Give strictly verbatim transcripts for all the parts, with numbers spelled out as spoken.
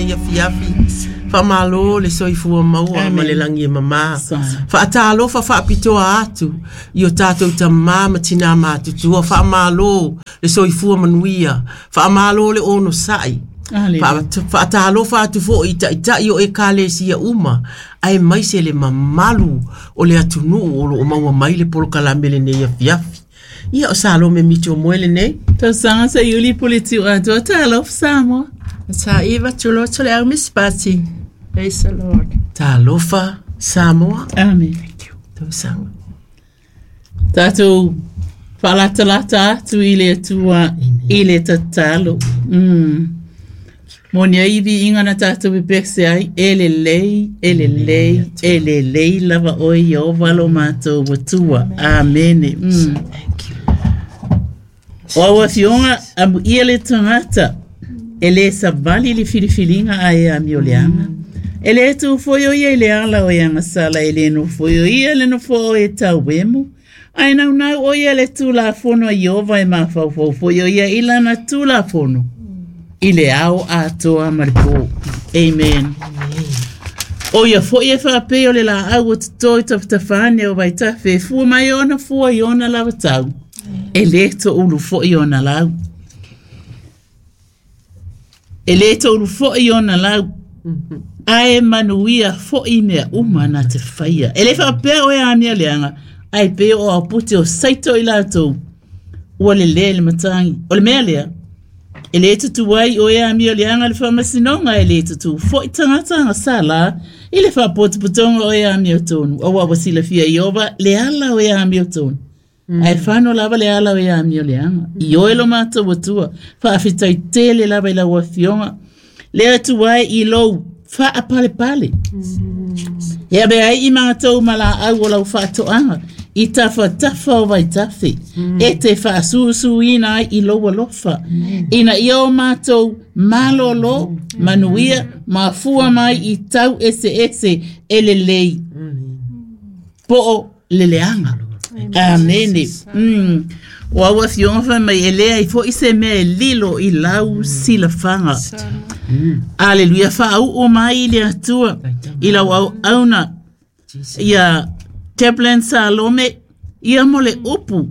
lenei afiafi. Faamalo le soifua maua ma le lagi e mama. Faatalofa faapitoa atu i o tatou tamā ma tinā matutua. Faamalo le soifua manuia. Faamalo le onosai. Faatalofa atu foi i taitai o ekalesia uma, aemaise le mamalu o le atunuu o loo maua mai le polokalame lenei afiafi. Ia o Salome Mito moe lenei. Tausaga sa iuli pule tiu atoa talofa Samoa. Sa iva tuloto le au mispati. Praise the Lord. Talofa Samoa. Amen. Thank you. Tausaga. Tatou faalatalata atu i le Atua i le tatalo. Mm. Moni ai viiga na tatou pepese ai, e lelei, e lelei, e lelei lava oe Ieova lo matou Atua. Amene. Mm. Thank you. O au afioga amuia le tagata e lē savali le filifiliga ae amioleaga. E lē tu foi o ia i le ala o e agasala e lē nofo o ia le nofoa o e tauemu. Ae naunau o ia le tulafono a Ieova e mafaufau foi o ia i lana tulafono i le ao atoa ma le pō. Amen. O ia foi e faapei o le laau o totō i tafatafa ane o vaitafe e fua mai ona fua i ona lava tau. E lē toulu foi ona lau. E lē toulu foi ona lau. Ae manuia foi mea uma na te faia. E le faapea o e amia leaga, ae pei o aupute o saito i latou. Ua le lē le matagi. O le mea lea, e lē tutu ai o e amio leaga le faamasinoga e lē tutū foi tagata agasala i le faapotopotoga o e amiotonu. Auā ua silafia Ieova le ala o e amiotonu. Ae fano lava le ala o e amio leaga. I oe lo matou Atua, faafetai tele lava i lau afioga. Le Atua e i lou faapalepale. E ave ai i matou ma laau o lau faatoaga i tafatafa o vaitafe. E te faasusuina ai i lou alofa. Ina ia o matou malolo, manuia, mafua mai i tau eseese e lelei. Po o le leaga. Amene. Mm. O au afioga fai mai e leai foi se mea e lilo i lau silafaga. Aleluia faauu mai i le Atua i lau auauna ia Chaplain Salome ia mo le upu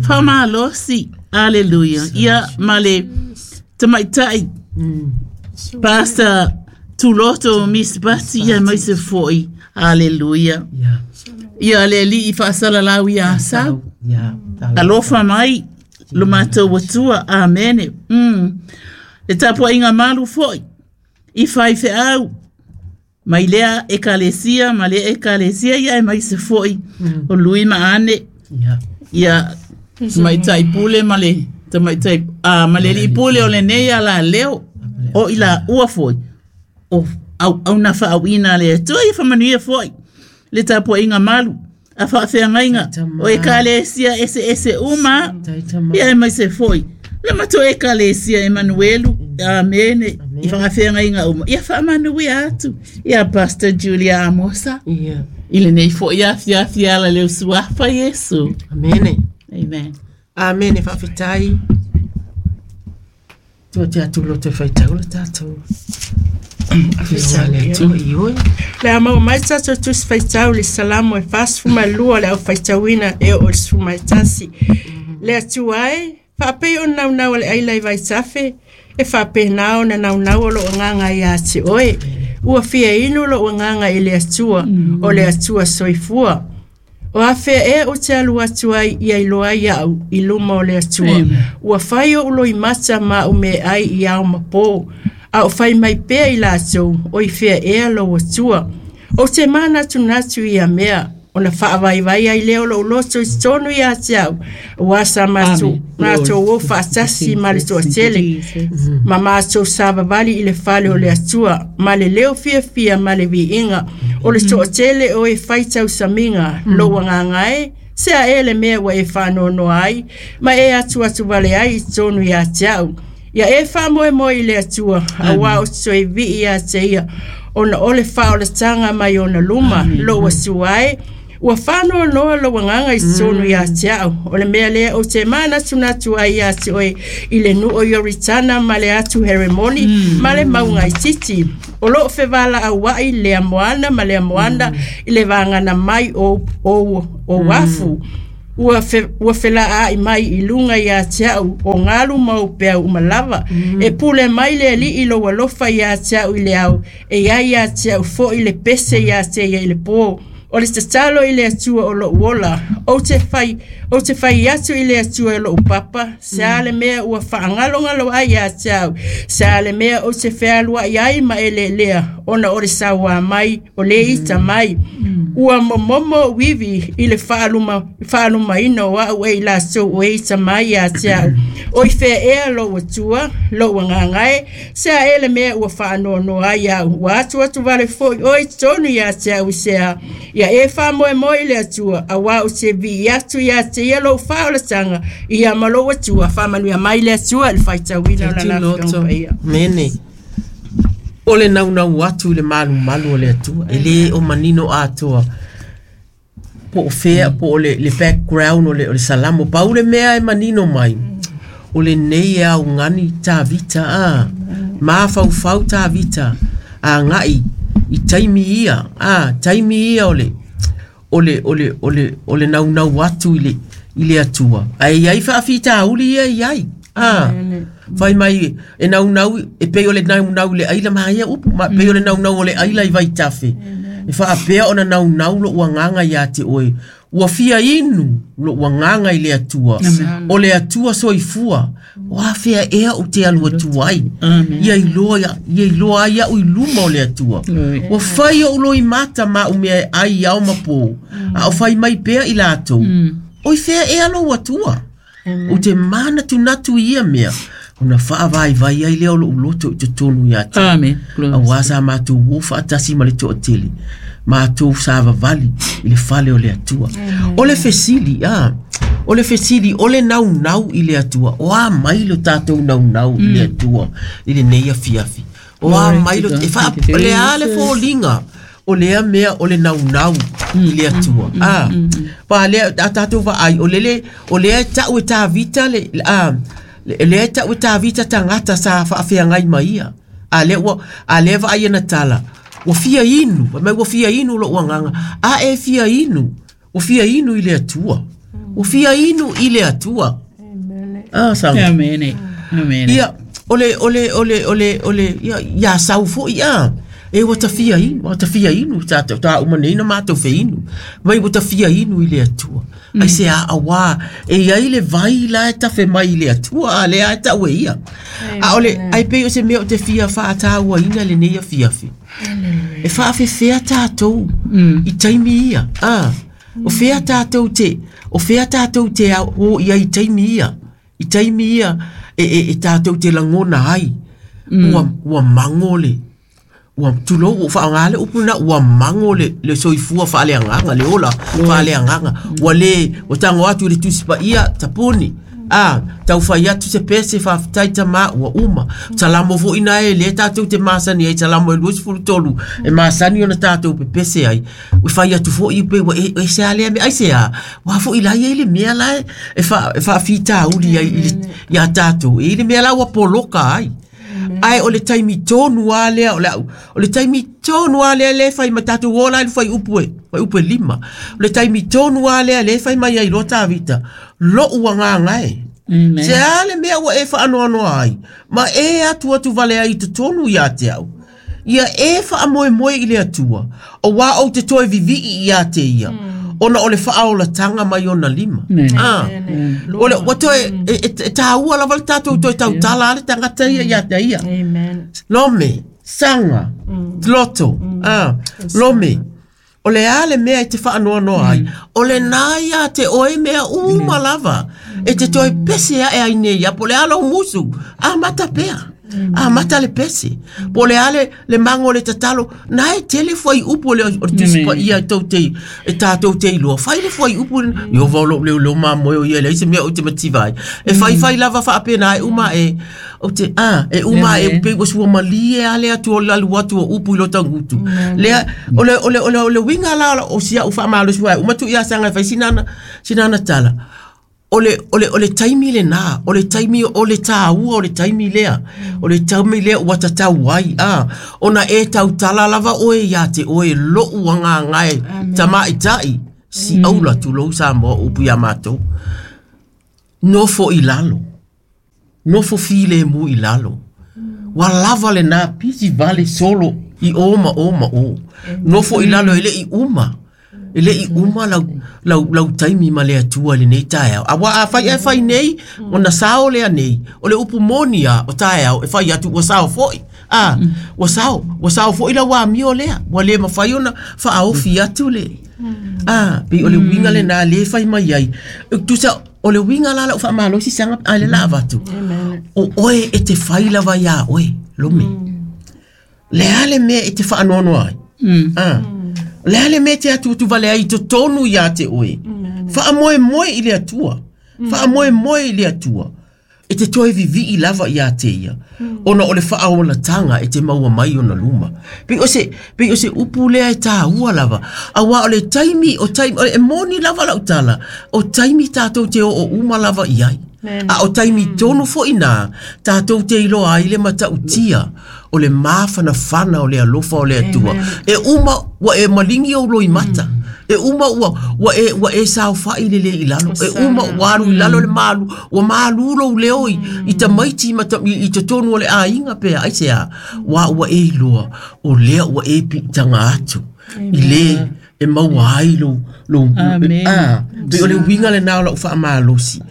faamalosi. Aleluia. Ia ma le tamaitai Pastor Tuloto Miss Bati ia mai se foi. Aleluia. Yeah. Ia le alii faasalalau ia Asau. Yeah. Alofa mai lo matou Atua. Amene. Mm. Le tapuaiga malu foi i faifeau mai lea ekalesia ma lea ekalesia ia e mai se foi o lui ma ane Yeah. ia tamaitai pule ma le tamaitai a ma le alii pule o lenei ala leo o i la ua foi o au auna faauina le Atua ia faamanuia foi le tapuaiga malu a faafeagaiga o ekalesia eseese uma ia e mai se foi le matou ekalesia Emanuelu. Amene. I faafeagaiga uma ia faamanuia atu ia Pastor Julia Amosa Yeah. i lenei foi afiafi ala leo suafa Iesu. Amene. Amen. Amene faafetai. Tua te atu loto e faitau le tatou. Afioga le Atua i oe. Le a maua mai tatou tusi faitau le Salamo e fasefulumalua le au faitauina e oo i le sefulumatasi. Le Atua e, faapei o naunau a le aila i vaitafe, e faapena ona naunau o lou agaga ia te oe. Ua fia inu lou agaga i le Atua, o le Atua soifua. O afea ea ou te alu atu ai ia iloa ai au i luma o le Atua. Ua fai ou loimata ma au meaai i ao ma pō. A o fai mai pea i latou, o i fea ea lou Atua. Ou te manatunatu ia mea, ona faavaivai ai lea o lou loto i totonu ia te au. Ua sa matou matou o faatasi ma le toatele ma matou savavali i le fale o le Atua, ma le leo fiafia ma le viiga o le toatele o e fai tausamiga. Lou agaga e, se a e le mea ua e faanoanoa ai, ma e atuatu vale ai i totonu ia te au. Ia e faamoemoe i le Atua, auā ou te toe vii ia te ia, ona o le faaolataga mai ona luma. Lou Atua e, Ua faanoanoa lou agaga i totonu iā te a'u o le mea lea ou te manatunatu ai iā te oe i le nuu o Ioritana ma le atu Heremoni ma le mauga itiiti o loo fevala'aua'i lea moana ma lea moana i le vagana mai o o o afu ua fe, ua fela'a'i mai i luga iā te a'u o galu ma ou peau uma lava e pule mai le ali'i lou alofa iā te a'u i le ao e iai iā te a'u fo'i le pese iā te ia i le pō o le tatalo i le Atua o lo'u ola ou te fai ou te fai atu i le Atua e lo'u papa se a le mea ua faagalogalo ai iā te au se a le mea ou te fealua'i ai ma e lelea ona o le sauā mai o lē ita mai ua momomo uivi i le faaluma faalumaina o a'u e i latou o e ita mai iā te a'u o i fea ea lou Atua lou agaga e se a e le mea ua faanoanoa ai a'u ua atu atu vale fo'i oe i totonu iā te a'u i sea ia e faamoemoe i le Atua auā ou te vi'i atu iā te ia lou faaolataga ia ma lou Atua faamanuia mai le Atua i le faitauina o lana afioga paia. Mene. O le naunau atu i le malumalu o le Atua e lē o manino atoa po o fea po o le, le background o le, o le salamo pau le mea e manino mai o lenei e augani Tavita a mafaufau Tavita aga'i i taimi ia a taimi ia o le o le o le o le o le naunau atu i le i le Atua ae iai faafitauli ia iai a fai mai e naunau e pei o le naunau i le aila maia upu ma pei o le naunau o le aila i vaitafe e faapea ona naunau lo'u agaga iā te oe ua fia inu lo'u agaga i le Atua o le Atua soifua o afea ea ou te alu atu ai ia iloa ia iloa ai a'u i luma o le Atua ua fai o'u loimata ma a'u mea e ai ao ma pō a o fai mai pea i latou oi fea ea lou Atua o te manatunatu i ia mea ona faavaivai ai lea o lo'u loto i totonu iā te auā sa matou o faatasi ma le to'atele matou savavali i le fale o le Atua o le fesili a o le fesili o le naunau i le Atua o a mai lo tatou naunau i le Atua i lenei afiafi o a mai lo e faa o le a le foliga o lea mea o le naunau i le Atua a pa lea a tatou vaai o lele o lea e ta'u e Tavita le a lea e ta'u e Tavita tagata sa faafeagai ma ia a lea ua a lea vaai ana tala ua fia inu mai ua fia inu lo'u agaga a e fia inu ua fia inu i le Atua ua fia inu i le Atua a sa Amen. Amen. Ia o le o le o le o le o le ia ia sau fo'i a e ua tafia inu ua tafia inu ta ta uma nei na matou feinu mai ua tafia inu i le Atua ai se a auā e iai le vai la e tafe mai i le Atua a lea e ta'u e ia a o le ai pei o se mea o te fia fa'atāuaina lenei afiafi e fa'afefea tatou i taimi ia a o fea tatou te o fea tatou te o ia i taimi ia i taimi ia e e, e tatou te lagona ai ua ua mago le ua tulou ua faaoga le upu lena ua mago le le soifua faaleagaga le ola faaleagaga ua lē ua tago atu i le tusi paia tapuni a taufai atu se pese faafetai tamā ua uma salamo fo'i na e lē tatou te masani ai salamo e luasefulu tolu e masani ona tatou pepese ai ua fai atu fo'i pe ua e se a lea mea ai se a ua fo'i la ia i le mea la e fa e faafitauli ai i le iā tatou e i le mea la ua poloka ai ai o le taimi tonu a lea o le o le taimi tonu a lea le fai ma tatou ola i le fai upu e fai upu e lima o le taimi tonu a lea le fai mai ai lo Tavita lo'u agaga e se a le mea ua e faanoanoa ai ma e atu atu vale ai i totonu iā te au ia e faamoemoe i le Atua auā ou te toe vivi'i iā te ia ona o le faaolatanga mai ona lima ah o le ua toe e, e, e tāua lava le tatou toe tautala a le tagata ia iā te ia Amen. Lome saga loto ah lome o le a le mea e te faanoanoa ai o le nā ia te oe mea uma lava e te toe pese aʻe ai nei ia po le a lou musu a mata pea Amata le pese. Po le ale le mango le tatalo na e tele foi upu le o tusi pa ia tau te e tātou te iloa. Fai le foi upu yo va lo le lo ma moe o ia le se mea o te mativa ai. E fai fai lava faapena e uma e o te a e uma e pe o sua malie ale atu o lalu atu o upu i lo tangutu. Lea o le o le o le o le winga la o sia u faamalo sua uma tu ia sanga fai sinana sinana tala. Ole ole ole taimi le na ole taimi ole tāua ole taimi lea ole taimi lea ua tatau ai a ona e tautala lava oe ia te oe lou agaga e tamaitai si aula tulou Samoa upu ia matou nofo i lalo nofo filemu i lalo ua lava lena pisi vale solo i o ma o ma o nofo i lalo e le'i uma e le'i uma lau lau lau taimi ma le Atua lenei taeao. Aua a fai e fai nei, ona sao lea nei, o le upu moni a o taeao e fai atu ua sao foi. A, ua sao, ua sao foi lau amio lea, ua le mafai ona faaofi atu le. A, pei o le uiga lenā lē fai mai ai. Tusa o le uiga la lau faamalosi saga a le la avatu. O oe e te fai lava iā oe, lome. Le a le mea e te faanoanoa ai. A, le ale me te atu tu vale ai totonu ia te oe. Faamoemoe i le Atua. Faamoemoe i le Atua. E te toe vivii lava ia te ia. Ona o le faaolatanga e te maua mai ona luma. Pei o se, pei o se upu lea e tāua lava. Aua o le taimi, o taimi, o e moni lava lau tala. O taimi tātou te o o uma lava i ai. A o taimi tonu foi nā, tātou te iloa ai le matautia. O le mafanafana o le alofa o le Atua. E uma ua e malingi o loimata. E uma ua ua e ua e saofai le le i lalo. E uma ua alu i lalo le malu. Ua malu lou leo i, i tamaiti ma ta, i, i totonu o le aiga pea. Ai se a, ua ua e iloa. O lea ua e piitaga atu. I le e maua ai lou, lou, a, pei o le uiga lenā o lau faamalosi.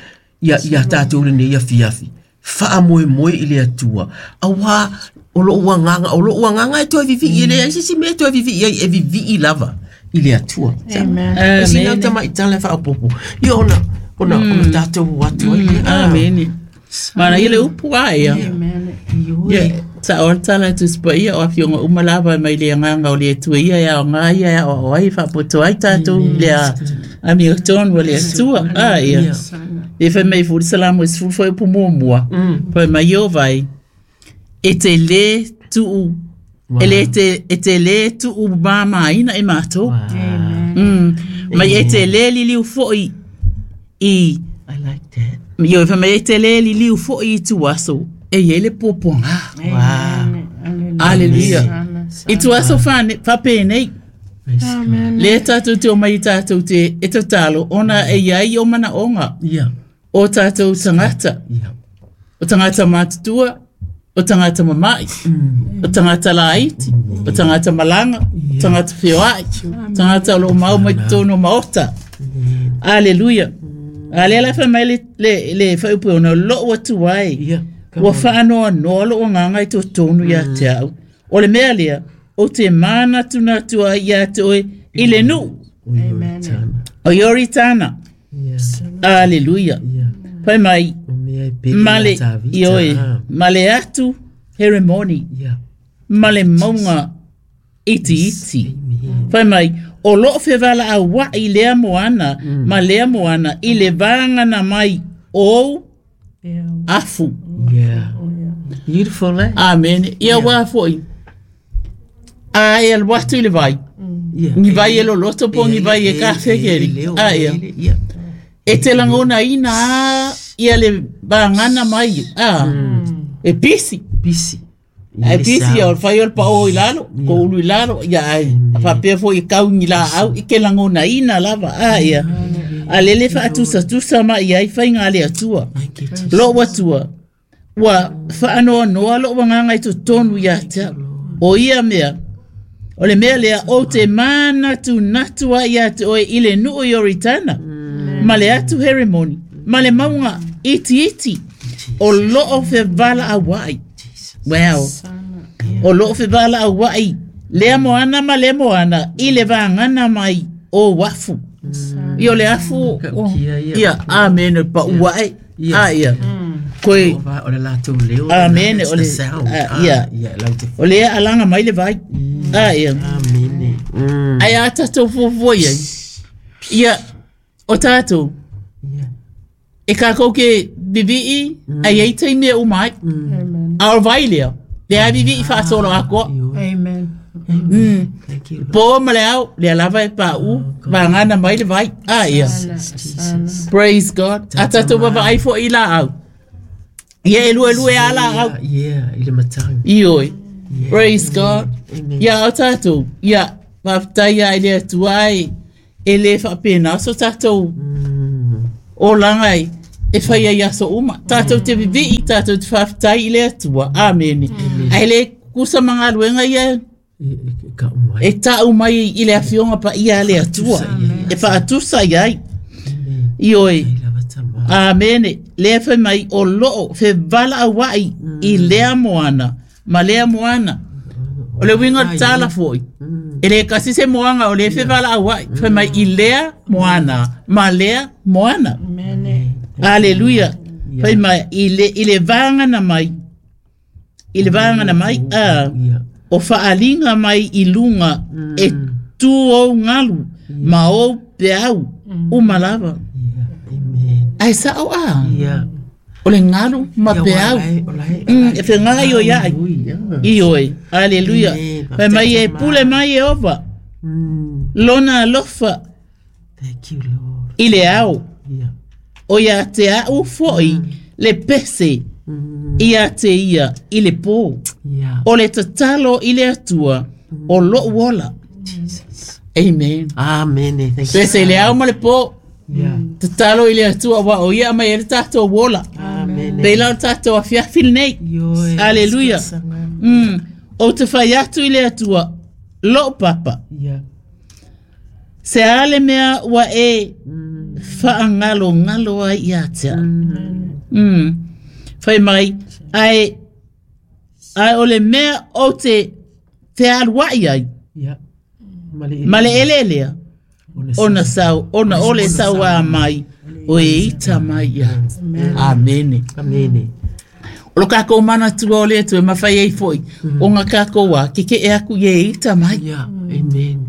Ia, ia tātou lenei afiafi. Faamoemoe i le Atua. Aua o lou agaga, o lou agaga e toe vivii e le ai sisi mea e toe vivii ai e vivii lava i le Atua. Amen. Sina tamaitala e faaopopo. Ia ona, ona, ona tātou atu ai le. Amen. Mana ia le upu a ia. Ia, sa o tala tu spa ia o afioga uma lava mai le agaga o le Atua ia e aoga ia e aoao ai faapoto ai tātou le a amiotonu o le Atua. A ia. E fai mai fuli salamo e sefulu foi upu muamua. Fai mai o vai. E te lē tuu e le te e te lē tuu mamaina e matou. Mm. Mai e te lē liliu foi i I like that. Io fai mai e te lē liliu foi i tuaso e iai le puapuaga. Wow. Aleluia. I tuaso fane faapenei. Le tātou te o mai tātou te e tatalo ona e iai o manaoga. Ia. O tātou tangata. Ia. O tangata matutua, o tangata mama'i, o tangata laiti, o tangata malaga, o tangata feoa'i, tangata o loo mau mai totonu o maota. Aleluia. A lea la fai mai le, le, le faaupu ona lou atu ai. Ia. Ua faanoanoa lou agaga i totonu ia te au. O le mea lea, o te manatunatu ai ia te oe i le nuu. Amen. O Ioritana. Aleluia. Ia. Fai mai, O mea e pele ma le ia Tavita. ioe, Ah. ma le atu Heremoni, Ia. ma le mauga itiiti. Fai mai, o loo fevala'aua'i lea moana, ma lea moana, i le vagana mai ou afu. Yeah. Beautiful, eh? Amen. Ia uā fo'i. A e alu atu i le vai. Ia. Ni vai e loloto po ni vai e kafekeri. A ia. Ia. E te lagonaina a ia le vagana mai. A. E pisi. Pisi. Ai pisi ia o le fai o le pao i lalo, ko ulu i lalo, ia ai. Faapea foi i kaugi laau, i ke lagonaina lava. A ia. A lele faatusatusa mai ai faiga a le Atua. Thank you, Jesus. Lou Atua, ua faanoanoa lou agaga i totonu ia te au. O ia mea, o le mea lea, ou te manatunatu ai ia te oe i le nuu i Ioritana, ma le atu Heremoni, ma le mauga itiiti, o loo fevala'aua'i. Wow. O loo fevala'aua'i, lea moana ma lea moana, i le vagana mai o afu. Ia o le afu, o- Kaukia ia. ia, amen, o le pa'ua ai. Ia. A ia. Ko Koe O le latou leo. Amene o le ia. O le alaga mai le vai. Ah ia. Amene. Mm. Ai a tatou fuafua i ai. Ia o tatou. E kākou ke vivi'i ai ai taimi e uma ai. A o vai lea. Le a vivi'i faasolo akoa. Amen. Mm. Thank you. Po ma le ao, le lava e pa'u, vagana mai le vai. Ah ia. Praise God. A tatou vavaai fo'i la au. Ia e lue lue a la au. Yeah, i le matagi. Ioi. Praise God. Amen. Ia o tatou. Ia, faafetai ai le Atua ai. E le faapena so tatou olaga ai e fai ai aso uma. Tatou te vivi'i, tatou te faafetai i le Atua. Amene. Ae le kusa ma galuega ia E e ka umai. e ta'u mai i le afioga paia a le Atua. E fa'atusa i ai. Ioi. I lava tama. Amene. Lea fai mai o loo fevala'aua'i i lea moana ma lea moana. O le uiga o le tala fo'i. E lē kasi se moaga o lea fevala'aua'i. Fai mai i lea moana ma lea moana. Aleluia. Fai mai i le, i le vagana mai. I le vagana mai. A, Ia. o fa'aliga mai i luga e tu ou galu ma ou peau uma lava. Ia. Amen. Ae sa'o a. Ia. O le galu ma Ia, peau. olai, olai. Mm, e fegaga i o ia'i. Ui, ia. I oe. Aleluia. Amen. Fai mai e pule mai e ova. Mm. Lona alofa Thank you, Lord. i le ao. Ia. O ia te a'u fo'i le pese Mm. ia te ia i le pō. Ia. O le tatalo i le Atua o lo'u ola. Jesus. Amen. Amen. Thank you. Pese i le ao ma le pō. Ia. Tatalo i le Atua wa o ia mai e le tatou ola. Amen. Pei la o le tatou afiafi lenei. Ioe. Aleluia. Mm. O te fai atu i le Atua lo'u papa. Ia. Se a le mea ua e whaangalongalo ai ia te au. Mm. Whai mai, ai, ai o le mea o te te aluai ai, Ia. Male ma le ele lea, Ona ona sau, ona ole sau a mai, o e ita mai ia. Amene. Amene. O lo kākou mana tua o le Atua e mawhai ai foi, o ngā kākou a, ke ke e aku i e ita mai. Ia. Amen.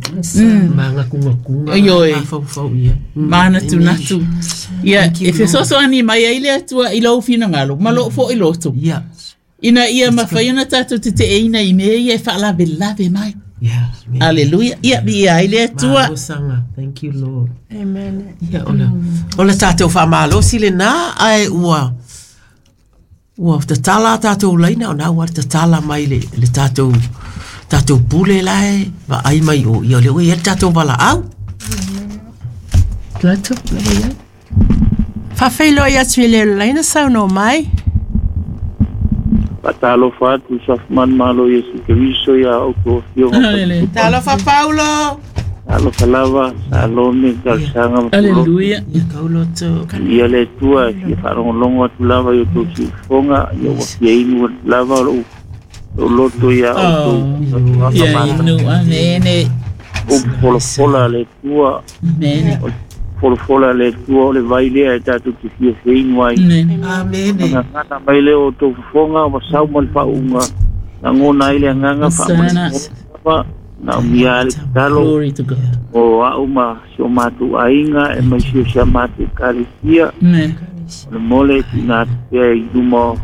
Manga kunga kunga. Ioe. Fau fau ia. Mana tu natu. Ia, Thank you, e fesoso ani mai ai le Atua i lou finagalo, ma loo fo'i loto. Ia. Ina ia mawhai ana tātou te te eina i mea ia e whaalave lave mai. Ia. Amen. Aleluia. Ia, mi ia ai le Atua. Malosanga. Thank you, Lord. Amen. Ia, ola. Ola tātou whamalosi le nā, ai ua, ua tatala tātou laina, o nā ua tatala mai le, le tātou, tātou pule lae, wa ai mai o, ia le ue ia le tātou wala au. Latu, lava ia. Faafeiloai atu i le laina saunoa mai. Faatalofa atu safumanu malo Iesu Keriso ia outou afioga. Aleluia. Talofa Paulo. Alofa lava, Salome, talosaga ma pulo. Aleluia. Ia kauloto. Ia le Atua e fia faalogologo atu lava i outou siufofoga, ia ua fia inu atu lava o lou lou loto ia outou. Oh. Ia inu, amene. Upu folafola a le Atua, Amene. o le folafola a le Atua o le vai lea e tatou te fia feinu ai. Amene. Amene. Gagana mai lea o outou fofoga ua sau ma le faauuga lagona ai le agaga Sana. faamalava na umia le tatalo Glory to God. o a'u ma si o matou aiga e mai si o sia matou ekalesia Amen. o le mole e tuuina atu pea i luma o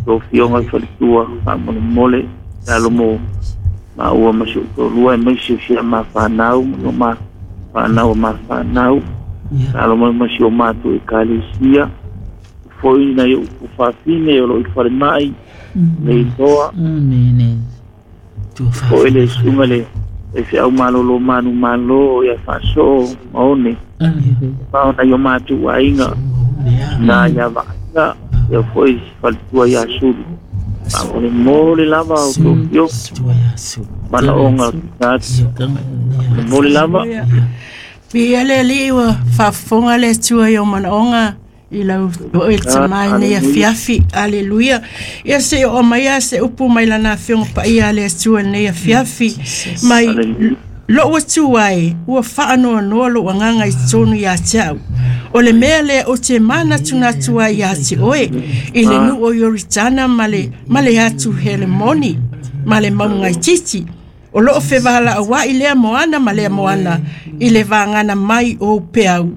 tou fioga i faletua faamolemole talo mo maua ma si ou toalua e mai si o sia mafanau ma o mafanau o mafanau Ia. talo mai ma si o matou ekalesia foi nai ou fafine o loo i falema'i le itoa Amene. Tua o ele suga le e feau malolo manu malo ia faasoo ma one Aleluia. ma ona i o matou aiga na ia vaaiga ia foi faletua ia sulu faamolemole lava o tou fio Tua ia su. manaoga atu mole lava Viia le Alii ua faafofoga le Atua i o manaoga i lau o e tamai nei afiafi. Aleluia. Ia se o mai a se upu mai lana afioga paia a le Atua i lenei afiafi. Mai Aleluia. Lou atu ai, ua faanoanoa lou agaga i totonu iā te au. O le mea lea ou te manatunatu ai iā te oe, i le nuu o Ioritana ma le, ma le atu Helemoni, ma le maugaititi. O loo fevalaua'i lea moana ma lea moana, i le vagana mai o upeau.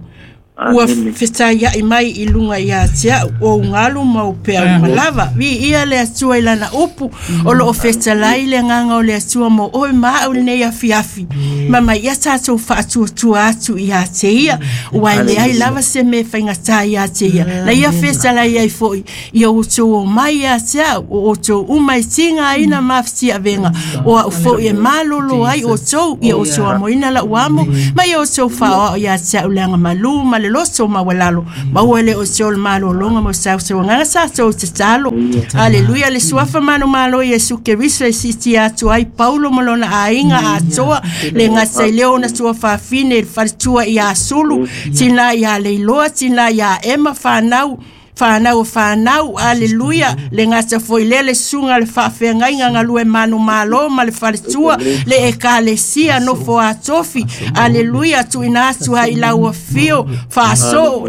Ua fetaia'i mai i luga iā te au o ugalu ma upeau malava. Viia le Atua i lana upu, o loo fetalai le agaga o le Atua mo oe ma a'u lenei afiafi. Ma mai ia tatou faatuatua atu iā te ia, ua e leai lava se mea faigatā iā te ia. Na ia fetalai ai fo'i, ia outou omai iā te au, o outou uma e tigaina ma afitiavega, o a'u fo'i e malolo ai outou, ia outou amoina la'u amo, ma ia outou faaoao iā te au le agamalū ma le loto maualalo. Maua le o te o le malologa mo sausauagaga tatou tatalo. Aleluia, le suafa manumalo Iesu Keriso e sitia atu ai Paulo ma lona aiga atoa, le gata i lea ona tuafafine i le faletua iā Sulu, tinā iā Leiloa, tinā iā Ema, whanau whanau o whanau, aleluia, le gata foi lea le susuga le faafeagaiga galue manumalo ma le faletua, le ekalesia nofo atofi, aleluia, tuuina atu ai i lau afio faasoo,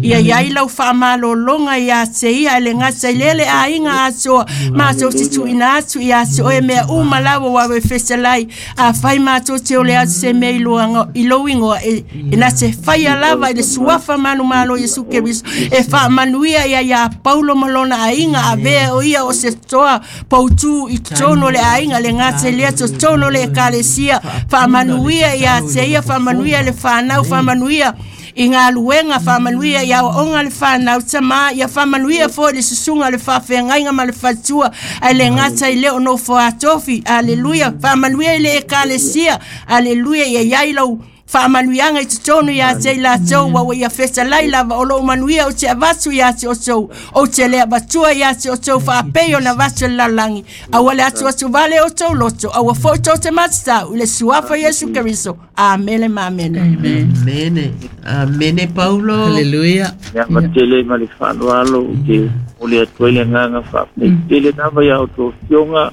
ia iai lau faamalologa iā te ia, e le gata i lea le aiga atoa, matou te tuuina atu iā te oe mea uma lava ua e fetalai, afai matou te ole atu se mea i loaga- i lou igoa, e, e na te faia lava i le suafa manumalo Iesu Keriso, e faamanuia ia iā Paulo ma lona aiga, avea o ia o se toa pautū i totonu o le aiga, le gata i lea totonu o le ekalesia, faamanuia iā te ia, faamanuia le whanau, faamanuia i ngā luenga, faamanuia i aoaoga le whanau tamā, ia faamanuia foi le susuga le faafeagaiga ma le faletua, ae le gata i lea o nofo atofi, aleluia, faamanuia i le ekalesia, aleluia, ia iai lau faamanuiaga i totonu iā te i latou, ua ua ia fetalai lava o loo manuia ou te avatu iā te outou, ou te le avatua iā te outou faapei ona avatu e le lalolagi. Aua le atuatu vale outou loto, aua foi tou te matatau i le suafa Iesu Keriso. Amene ma amene. Amen. Amene. Amene Paulo. Hallelujah. Ia matele ma le faaaloalo ou te momoli atu ai le agaga faafetai lava iā outou afioga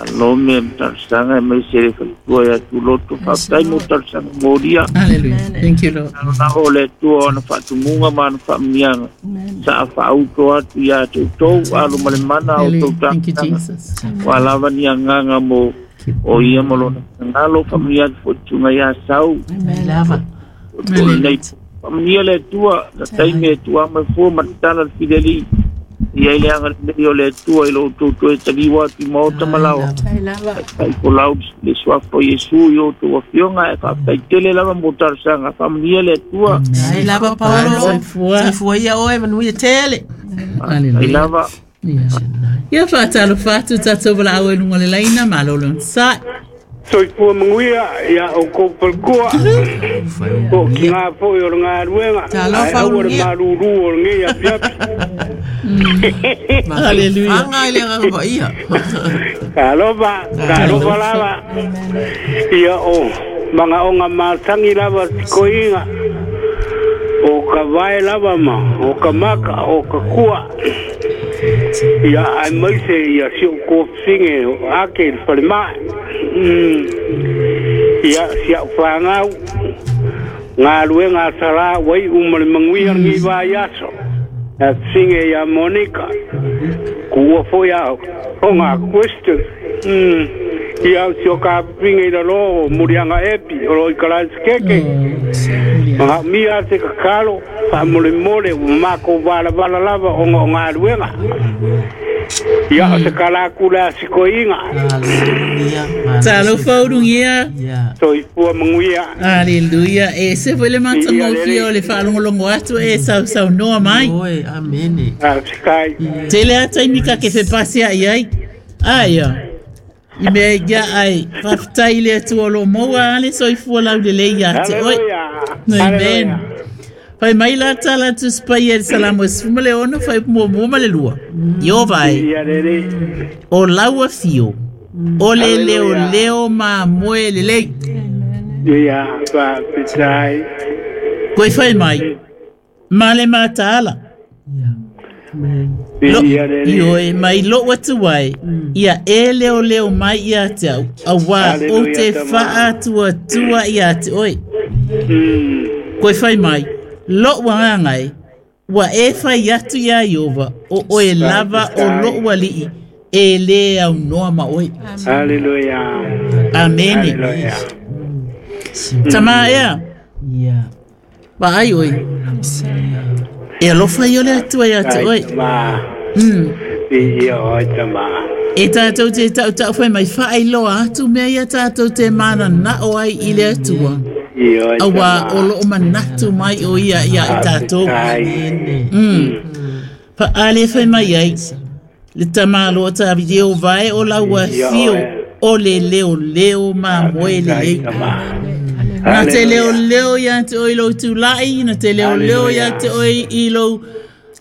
alome ma talosaga e mai se le faletua ia tuloto. Faafetai mo talosaga molia. Hallelujah. Thank you, Lord. Lava o le Atua o ana faatumuga ma ana faamanuiaga sa faauto atu iā te outou alo ma le mana o outou Hallelujah. Thank you, talosaga. Jesus. Ua lava ni agaga mo o ia ma lona finagalo, faamanuia atu foi tuga iā sau Lava. o lenei. Faamanuia le Atua na taimi e tuama fua ma tatala le fileli ia i le agalelei o le Atua i lo outou toe taliu atu i maota ma laoa. Faafetai folau le suafa o Iesu i outou afioga, e faafetai tele lava mo talosaga. Faamanuia le Atua. Ai lava Paulo. Soifua. Soifua ia oe manuia tele. Ai Hallelujah. lava. Yeah. Ia whaatalofa atu tātou wala e lunga le laina, malolo sa. Soifua manuia ia o kou palkua. O ki ngā foi o le ngā ruenga. Talofa Ai aua le ulugia. malūlū o le ngei api api. Hallelujah. Anga i le agaga paia. Ka alofa, ka alofa lava. Ia o mangaonga matangi lava tikoiga. O ka vae lava ma, o ka maka, o ka kua. Ia ai maise ia si o kōwhinge o ake i le whalemae. Mm. Ia si au whangau. Ngā ruenga tara wai uma le manguia ngi vai aso. A whinge ia Monica. Kua foi au. O ngā question. Mm. Ia au si o ka whinge i lalo o murianga epi o roi karaskeke. Mga mia te kakalo, wha mole mole, o mako wala wala lava o ngā ngā ruenga. Ia o te kalakula sikoinga. Hallelujah. Talofa urungia. Yeah. Soifua manguia. Hallelujah. E se foi le mata Ia, ngofia o le whaalongolongo atu e sau sau noa mai. Oi, amene. A sikai. Tele ata i mika ke whepasi ai ai. Ai ia. I mea ia ai. Whawhitai le atu o lo maua ale soifua lau le lei ia te oi. Hallelujah. Amen. Fai mai la tala tu spai e salamo e sfuma le ono fai mua mua ma le lua. Io vai. Ia rere. O laua fio. O le leo Hallelujah. leo ma moe le lei. Ia pa pitai. Koe fai mai. Ma le mataala. Yeah. Lo, Viia le i Alii. oe mai lou atu ai, ia e leoleo mai ia te au, auā ou Haleluia, te tama. faatuatua ia te oe. Mm. Koe fai mai, lou agaga e, ua e fai atu iā Ieova, o oe lava o lou alii, e lē aunoa ma oe. Haleluia. Amene. Haleluia. Tamā ea, Ia. vaai oe. E alofa ia o le Atua iā te Ai oe. tama. Mm. Viia oe tama. E tātou te tautau whai mai whaailoa atu mea ia tātou te mana nao ai i le Atua. I oe Aua tama. o loo manatu mai o ia ia i tātou. Faafetai. Mm. Fa ale whai mai ai, le tamalo ta video vai o laua Ia fio oe. o le leo leo ma moe le Faafetai, lei. tama. Na te leo Haleluia. leo ia te oi lou tūlai, na te leo leo ia te oi i lou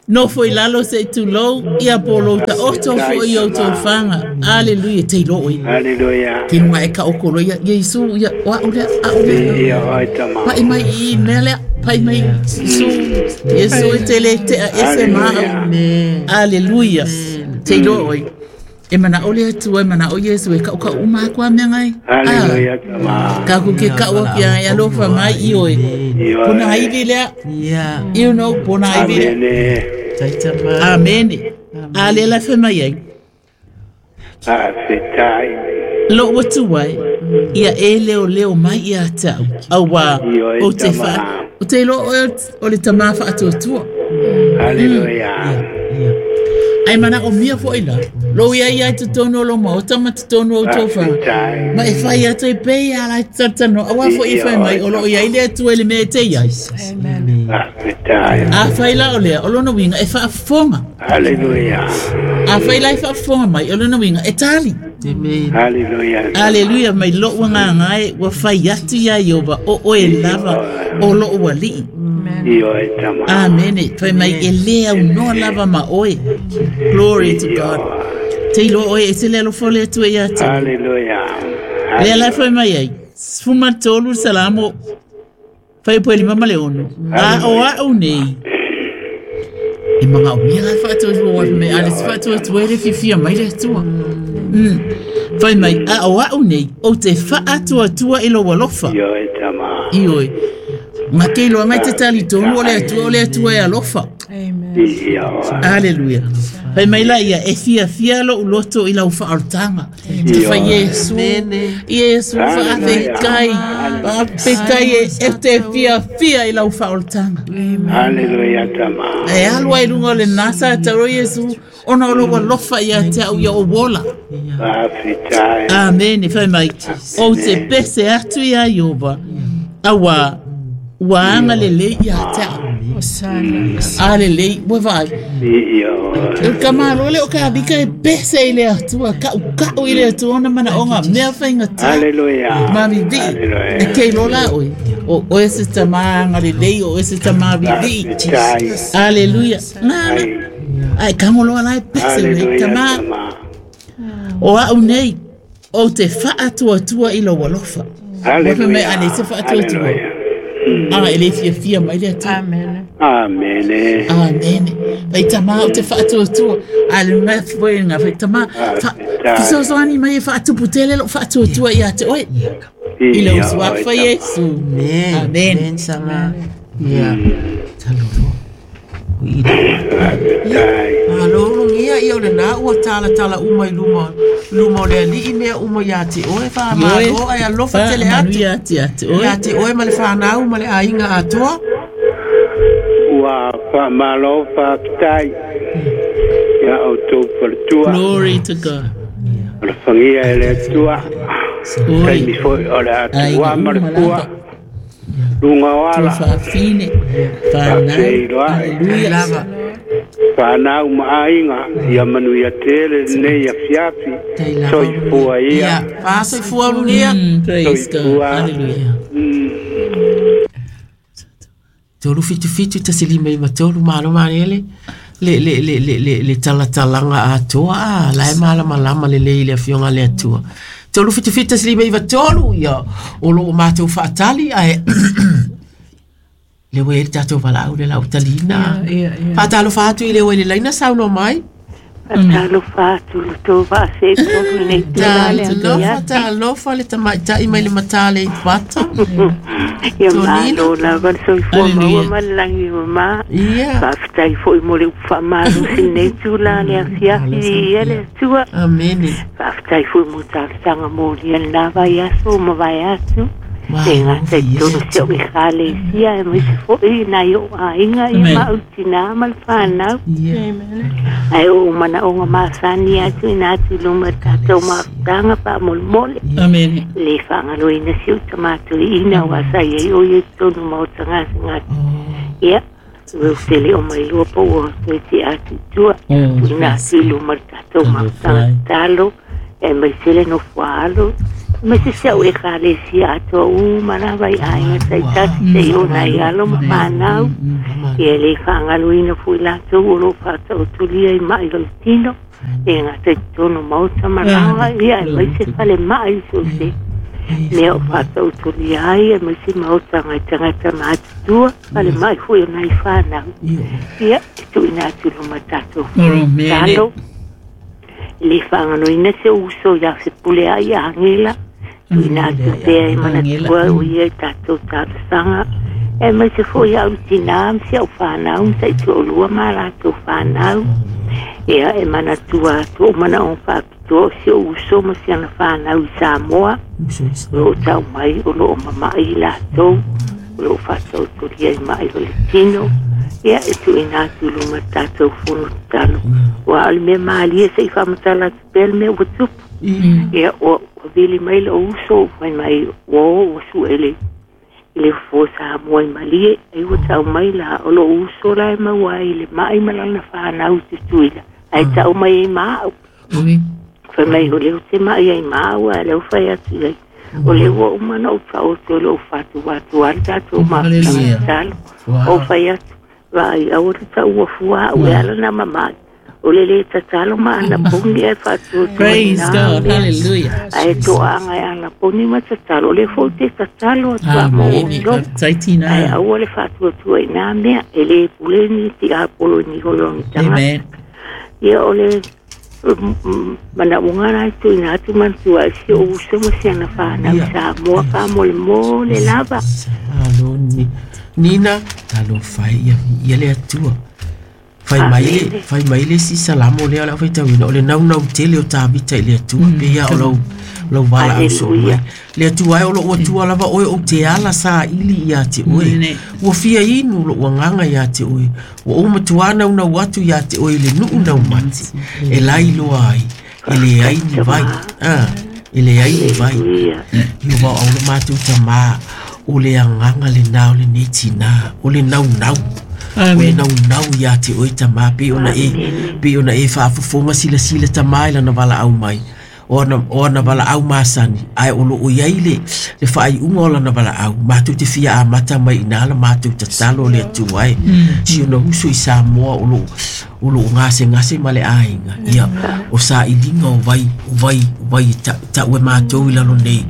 nofo i lalo se tulou, ia po lou ta oto fo i o tō whanga. Aleluia, te ilo oi. Haleluia. Ke nunga e ka okolo ia, Iesu, ia, wa o lea, a o lea. Viia oe tama. Pai mai i mea lea, pai mai Iesu, Iesu e te le tea ese maa. Amen. Aleluia. Te ilo oi. E mana o le Atua, e mana o Iesu, e kau kau uma akua mea ngai. Ah, Haleluia tama. ka ku ke kau ki ai alofa mai i oe. I oe. Pona aivi lea, Ia. you know, pona aivi lea. Amene. Taitama. Amene. Ale la fe mai ai. Faafetai. Lou atu ai, ia e leo leo mai ia tau. Aua, I oe o te tama. wha, o te lo o, o le tamā whaatuatua. Haleluia. Ia. Ai mana o mia fo ila. Lo ia ia te tono lo ma o tama te tono o tō wha. Faafetai. Ma e whai atu e pei ala i tatano. Aua fo i whai mai, o lo ia i le atu e le mea te iai. Amen. Faafetai. A whai la o lea, o lona winga e whaafonga. Haleluia. A whai la e whaafonga mai, o lona winga e tali. Amen. Haleluia. Aleluia, mai lou agaga e ua fai atu iā Ieova o oe lava o lou alii. I oe tama. Amene. Fai mai e lē aunoa lava ma oe. Glory to God. Te iloa oe e te le alofa o le Atua iā te. Haleluia. Lea la fai mai ai. Sefulu ma tolu Salamo fai po e lima ma le ono. A o au nei. E magaomia la faatuatua wa mai ale se faatuatua e le fiafia mai le Atua. Mm. Fai mai a o au nei o te faatuatua i lou alofa. I oe tama. I oe. Nga ke iloa ngai te tali tonu o le Atua o le Atua e alofa. Amen. I oe. Aleluia. Fai mai la ia e fiafia lou loto i lau faaolataga. Te fai Iesu. Iesu faafetai. Faafetai e e te fiafia i lau faaolataga. Haleluia tama. E alu ai luga o lenā sa tau Iesu ona o lou alofa ia te au ia o wola. Faafetai. Amene. Fai mai o te pese atu iā Ieova. Auā ua agalelei iā te au. Osana. Alelei ua vaai. I oe. E ka malo le o ka vika e pese i le Atua, kau kau i le Atua ona mana onga mea whainga tā. Haleluia. Mami vi, Haleluia. e kei lola oe. O oe se tamā ngalelei, o oe se tamā vivi. Faafetai. Aleluia. Ngā, Ai. ai kangoloa lai pese nei, Haleluia tamā. tama. O au nei, o te whaatuatua i lou alofa. Wape mai Haleluia. ane se whaatuatua. Haleluia. A, e le fiafia mai le Atua. Amen. Amene. Amene. Vai tamā o te whaatuatua. A le mea fwe ngā vai tamā. Fisosoani mai e whaatupu tele lo whaatuatua ia te oe. I le usua oe wha tama. Yesu. Amen. Amen. Amen sama. Ia. Talolo. O i la. Faafetai. Malolongia ia o lenā ua talatala uma i luma luma o le alii mea uma iā te oe faamālō ae alofa tele atu Ia te ate oe. iā te oe ma le whanau ma le aiga atoa. Ua faamalo faafetai. Ia outou faletua. Glory to God. O le fagia e le Atua. Oi. Taimi foi o le atua ma le pua. Luga o Tua ala. whaafine. Whanau. Faafeiloai. Hallelujah. Lava. Whanau ma aiga ia manuia tele lenei afiafi. Tai lava. Soifua ia. Ia. Faasoifua ulugia. Mm, praise God. Soifua. Hallelujah. Mm. Tolu fitu fitu tasi lima lima tolu malo manele le le le le le le talatalaga atoa a la e malamalama lelei i le afioga le Atua. Tolu fitu fitu tasi lima iva tolu ia o loo matou faatali ae Le ua i le tatou valaau le lau talina. Faatalofa atu i le ua i le laina saunoa mai. Faatalofa atu le tou vaase tolu nei tula le Talofa, talofa le tamaitai mai le matā le i pata. Ia malo lava le soifua maua ma le lagi mamā. Faafetai foi mo le upu faamalosi lenei tula le afiafi ia le Atua. Amene. Faafetai foi mo talosaga molia lenā vaiaso ma vae atu. E gata i tonu si o'u ekalesia e maise fo'i nai o'u aiga ia ma'autinā ma le fanau. Ae o'u manaʻoga masani atu ina atu i luma tatou mafutaga faamolemole. Le faagaloina si o'u tamatoiʻina ua sa iai o ia i totonu maota gasegase. Ia ua tele o mai lua po ua toe ti'a atu i tua tuuina atu i luma le tatou mafutaga tatalo e maise le nofoa alo ma se se o e kalesia atoa uma lava i aiga taitasi se'i o nai alo ma fanau. Ia le faagaloina fo'i latou o loo faataotolia i ma'i o le tino e gata i totonu maota malaga ia e maise fale ma'i so se mea o faataotolia ai e maise maotaga i tagata matutua fale ma'i fo'i o nai fanau. Ia e tuuina atu luma tatou talo le faagaloina se uso ia sepule ai agela tuuina atu pea e manatua o ia i tatou talosaga e maise fo'i a'u tinā ma si a'u fanau ma sa'ituaʻulua ma latou fanau. Ia e manatua atu o manaʻoga faapitoa o si o'u uso ma siana fanau i Samoa o loo tau mai o loo mama'i i latou o loo faataotolia i ma'i o le tino. Ia e tuuina atu i luma tatou fono tatalo ua o le mea malie se'i faamatala atu pea le mea ua tupu. Ia ua vili mai la'u uso fai mai ua o ua su'e le i le fofo Samoa i Malie ai ua tau mai la o lo'u uso la e maua ai le ma'i ma lana fanau i Tutuila ae ta'u mai ai ma a'u. Fai mai o lea ou te ma'i ai ma a'u ae lea ua fai atu i ai o lea ua uma na ou fa'aoto o lo'u fatuatu a le tatou mafutaga tatalo ou fai atu vaai aua le ta'ua fua a'u e ala na mama'i o le lē tatalo ma anaponi ae Praise God. Hallelujah. Ae to'aga e anaponi ma tatalo o le fo'u te tatalo atu a mo outou ae aua le fa'atuatua i nā mea e lē pule ni ti'apolo ni holoni tagata. Ia o le manaʻoga la e tuuina atu manatua ai si o'u uso ma siana fanau i Samoa faamolemole lava. Alo Nina talofa ia ia le Atua. Fai mai le fai mai le si salamo le ala fai tauina o le naunau tele o Tavita i le Atua pe ia o lau lau valaau soo mai. Le Atua ai o loo atua lava oe ou te ala saili ia te oe. Ua fia inu lou agaga ia te oe. Ua ou matuā naunau atu ia te oe i le nuu naumati. E lailoa ai e leai ni vai. Ah, e leai ni vai. Ia ua au le matou tamā o le agaga lenā o lenei tinā o le naunau. O le naunau ia te oe tamā pe ona e pe ona e faafofoga silasila tamā i lana valaau mai. O ana o ana valaau masani ae o loo iai le le faaiuga o lana valaau matou te fia amata mai inā la matou tatalo le Atua ai. Si ona uso i Samoa o loo o loo gasegase ma le aiga ia o sailiga o vai o vai o vai ta'u e matou i lalo nei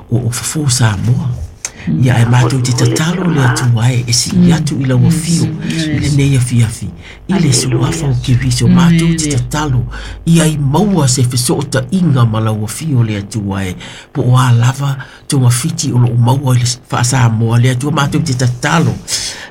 o o fofo Samoa. Ia e matou te tatalo le Atua ai e si'i atu i lau afio i lenei afiafi i le suafa o Keriso matou te tatalo ia i maua se feso'ota'iga ma lau afio le Atua ai po o a lava togafiti o lo'o maua i le fa'asamoa le Atua matou te tatalo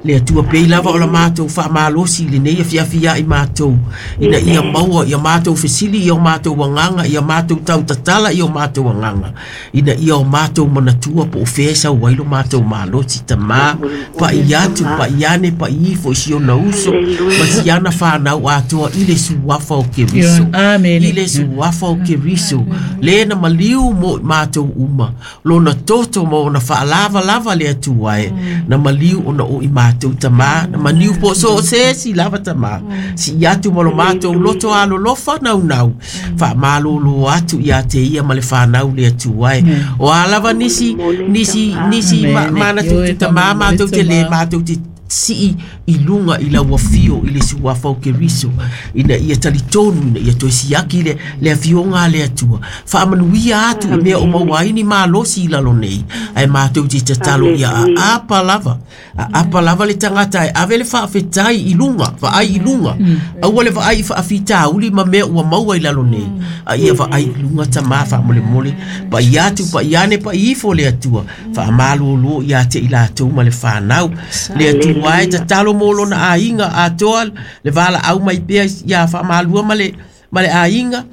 le Atua pei lava o la matou fa'amalosi i lenei afiafi a'i matou ina ia maua ia matou fesili ia o matou agaga ia matou tautatala ia o matou agaga ina ia o matou manatua po o fea e sau ai lo matou malosi tamā pa'i atu pa'i ane pa'i ifo i si ona uso ma siana fanau atoa i le suafa o Keriso. I le suafa o Keriso le na maliu mo i matou uma lona toto ma ona fa'alavalava le Atua e na maliu ona o i matou tamā na maliu po so o se esi lava tamā si'i atu ma lo matou loto alolofa naunau fa'amalōlō atu ia te ia ma le fanau le Atua e o a lava nisi nisi nisi manatu te tamā matou te lē matou te si'i i luga i lau afio i le suafa o Keriso ina ia talitonu ina ia toe siaki le le afioga a le Atua faamanuia atu i mea o maua ai ni malosi i lalo nei ae Ae matou te tatalo ia aapa lava, aapa lava le tagata e ave le faafetai i luga, vaai i luga, aua le vaai i faafitauli ma mea ua maua i lalo nei, a ia vaai i luga tamā faamolemole, paia atu paia ane paia ifo le Atua, faamalōlō ia te i latou ma le fanau, le Atua e tatalo mo lona aiga atoa le valaau mai pea ia faamalua ma le ma le aiga,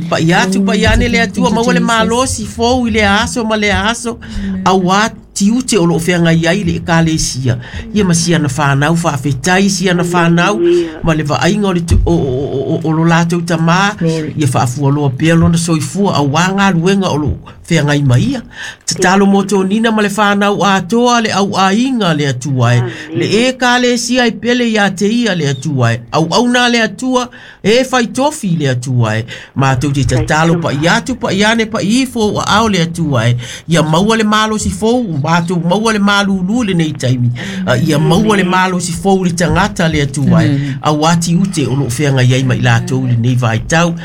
paia atu paia ane le Atua, maua le malosi fou i le aso ma le aso, auā tiute o loo feagai ai le ekalesia, ia ma siana fanau faafetai siana fanau ma le vaaiga o le tu- o, o, o, o lo latou tamā, ia faafualoa pea lona soifua auā galuega o loo feagai ma ia. Tatalo mo tonina ma le fanau atoa le auaiga le Atua e, le ekalesia e pele ia te ia le Atua e, auauna le Atua e faitofi le Atua e, matou te tatalo paia atu paia ane paia ifo o aao le Atua e, ia maua le malosi fou, matou maua le malūlū lenei taimi, a ia maua le malosi fou le tagata le Atua e, auā tiute o loo feagai ai ma i latou i lenei vaitau.